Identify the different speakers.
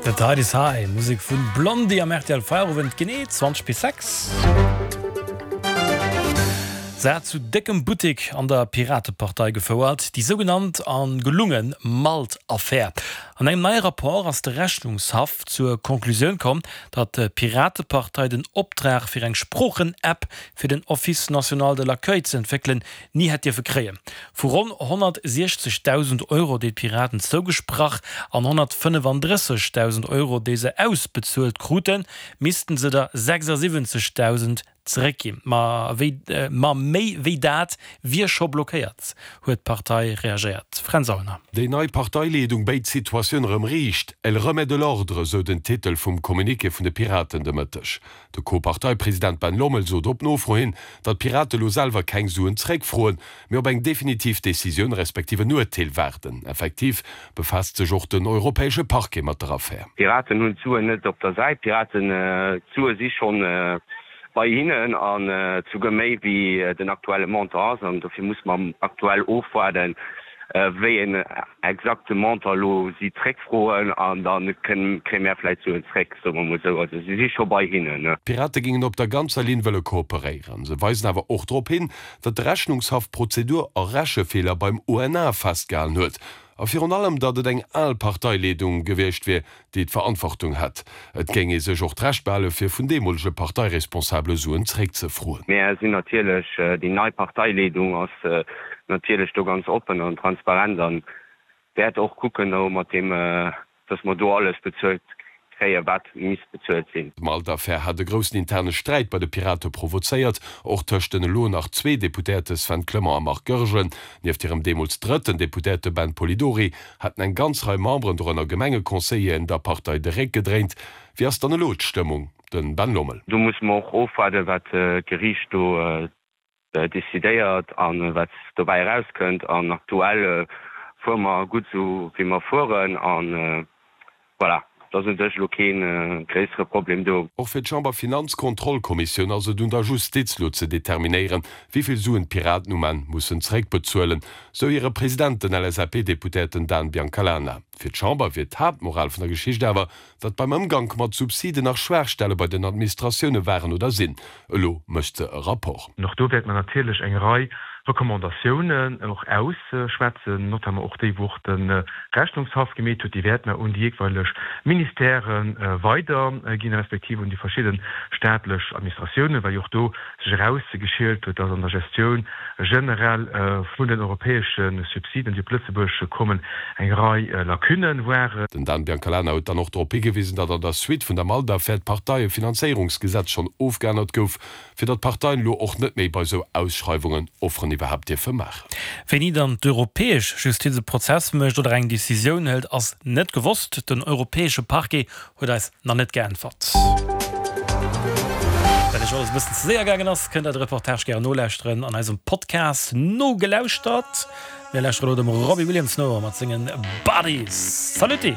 Speaker 1: The Tide is High, Musek vun Blondie am rtl Feierowend, genee 20 bis 6. Se hat zu déckem Buttek an der Piratepartei gefouert, déi sougenannt a gelunge Malt-Affär. An engem neie Rapport ass de Rechnungshaff zur Conclusioun komm, datt d'Piratepartei den Optrag fir eng Sproochen-App fir den Office national de l'accueil ze entwéckelen, ni hätt dierfe kréien. Vu ronn 160.000 Euro, déi d'Piraten zougesprach an 135.000 Euro, déi se ausbezuelt kruten, missten se der 76.000 zeréckginn. Ma ma méi wéi dat wier scho blockéiert, huet d'Partei reagéiert. Fränz Aulner.
Speaker 2: Déi nei Parteileedung béit d'Situatioun erëm riicht. Elle remet de l'ordre, sou den Titel vum Communiqué vun de Piraten de Mëtteg. De Co-Parteipresident Ben Lommel sot op Nofro hin, datt d'Pirate lo selwer keng Suen zeréckfroen, mee op eng definitiv Decisioun respektiv en Urteel waarden. Effektiv befaasst sech och den europäesche Parquet mat der Affär.
Speaker 3: D'Piraten hunn d'Suen net op der Säit. D'Piraten, d'Sue si schonn bei hinnen an souguer méi wéi den aktuelle Montant ass. An dofir musse mer aktuell ofwaarden, wéi een exakte Montant elo si zréckfroen an da kréie mär vläicht Suen zréck, soe mer mol esou. Also si si scho bei hinnen.
Speaker 2: D'Pirate géingen op der ganzer Linn wëlle kooperéieren. Se weisen awer och drop hin, datt de Rechnungshaff Prozedur a Rechefeeler beim ONA festgehalen huet. A virun allem, datt et eng al Parteileedung gewiescht wier, déi d'Verantwortung hätt. Et géing ee sech och d'Recht behale fir vun deemolege Parteiresponsabele Suen zréckzefroen.
Speaker 3: Mär sinn natierlech, déi nei Parteileedung ass natierlech do ganz oppen an transparent an wäert och kucken do mat deem, datt mer do alles bezuelt kréien, wat misst bezuelt sinn.
Speaker 2: D'Malt-Affär hat e groussen interne Sträit bei de Pirate provozéiert, och tëscht den elo nach zwee Deputéierte Sven Clement a Marc Goergen. Nieft hirem deemools drëtten Deputéierte Ben Polidori Haten eng ganz Rei Memberen, dorënner Gemengeconseilleren, der Partei de Réck gedréint. Wéi ass dann elo d'Stëmmung? Den Ben Lommel.
Speaker 3: Do musse mer och ofwaarden, wat d'Geriicht do decidéiert a wat dobäi erauskënnt. An aktuell fuere mer gutt esou wéi mer fueren. A voilà, et ass u sech elo kee gréissere Problem do.
Speaker 2: Och fir d'Chamber-Finanzkontrollkommissioun ass et un der Justiz lo ze determinéieren, wéi vill Suen d'Piraten um Enn mussen zeréckbezuelen, sou hire President, den LSAP-Deputéierten Dan Biancalana. Fir d'Chamber wier d'Haaptmoral vun der Geschicht awer, datt beim Ëmgank mat Subsiden nach Schwaachstelle bei den Administratioune waren oder sinn. Elo mécht se e Rapport.
Speaker 4: An och do wäerte mer natierlech eng Rei Recommandatiounen och ausschwätzen, notamment och déi, wou och de Rechnungshaff gemeet huet. Déi wäerte mer un déi jeeweileg Ministèrë weiderginn, respektiv un déi verschidde staatlech Administratiounen, well jo och do sech erausgeschielt huet, dass an der Gestioun generell vun den europäesche Subsiden, déi op Lëtzebuerg kommen, eng Rei Lacunë waren.
Speaker 2: Den Dan Biancalana huet dann och drop higewisen, datt an der Suite vun der Malt-Affär d'Parteiefinanzéierungsgesetz schonn ofgeännert gouf, fir datt d'Parteien elo och net méi bei esou Ausschreiwungen Offeren iwwerhaapt dierfe maachen.
Speaker 1: Wéini dann d'europäesch Justiz e Prozess mécht oder eng Decisioun hëlt, ass net gewosst. Den europäesche Parquet Huet eis nach net geäntwert. Well iech alles e bëssen ze séier gaangen ass, kënnt der de Reportage gären nolauschteren an eisem Podcast Nogelauschtert. Mir lauschteren elo dem Robbie Williams no mat sengen Bodies. Saluti!